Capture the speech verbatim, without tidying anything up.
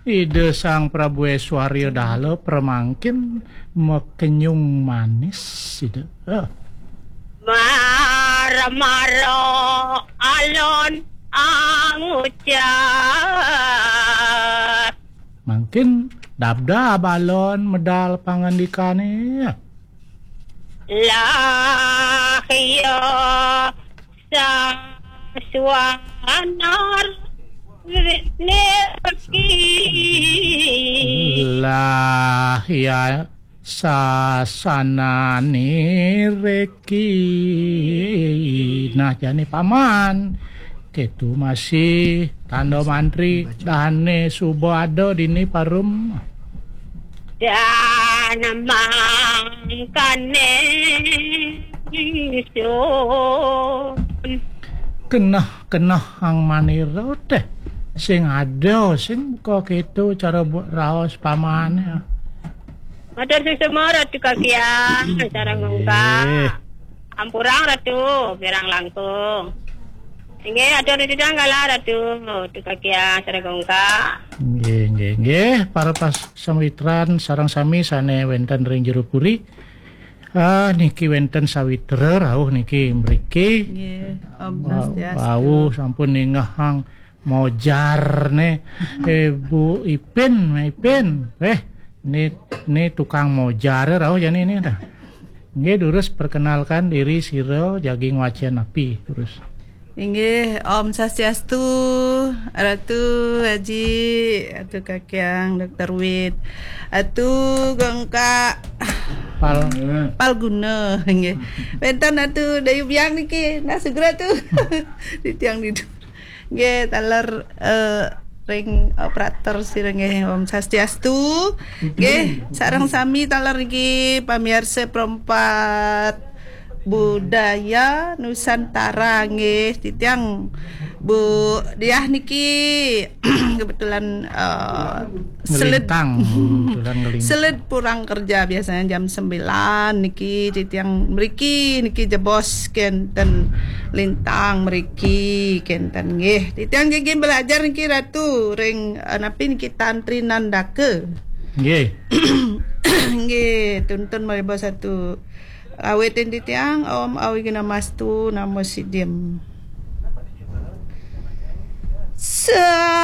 Ida Sang Prabu Eswarya Dala pramangkin makenyung manis sida. Ah. Mara-mara alon angucap. Mangkin dabdab alon medal pangandikane. Lah iya saswana nireki. Lah iya saswana nireki. Nah, jani paman. Ketu masih tanda mantri dane suba ada dini parum. Dan mangkane ingsun. Keneh-keneh ang manira teh. Sing ada, sing buka ketu cara buat raos pamane. Matur suksma Ratu Kakiang, sareng Nggih. Ampurang Ratu, pirang langkung. Inggih, atur titiang kala Ratu, Ratu Kakiang, sareng Nggih, nggih, nggih. Para pas sawitran sareng sami sane wenten ring jero puri. Ah, niki wenten sawitra rauh niki mriki. Nggih, Om Wa-, Swastiastu. Wau sampun ningehang mojar ne. Eh, Bu Ipin, Ipin. Eh, ni, ni tukang mojar rauh jani ni dah. Nggih, durus perkenalkan diri sira jagi ngwacen api, durus. Inggih, Om Swastiastu, Ratu Haji, Ratu Kakiang, Doktor Wit, Ratu Gongka Pal. Palguna, nggih. Wenten Ratu Dayu Biang niki, nah sugra tu. Di tiang di nggih, taler, eh, ring operator sira nggih, Om Swastiastu. Nggih, sareng sami taler niki pamirsa Perempat Budaya Nusantara nggih, titiang Bu Diah niki kebetulan, eh, seled Ngelintang, kebetulan ngelintang. Seled pulang kerja biasanya jam sembilan niki, titiang mriki niki jebos kenten lintang mriki kenten nggih. Titiang nggih belajar niki Ratu ring, eh, napi niki Tantri Nandaka. Nggih. Nggih, tuntun mariba satu. Awitin titiang, Om Awighnamastu Namo Siddhim. Sa-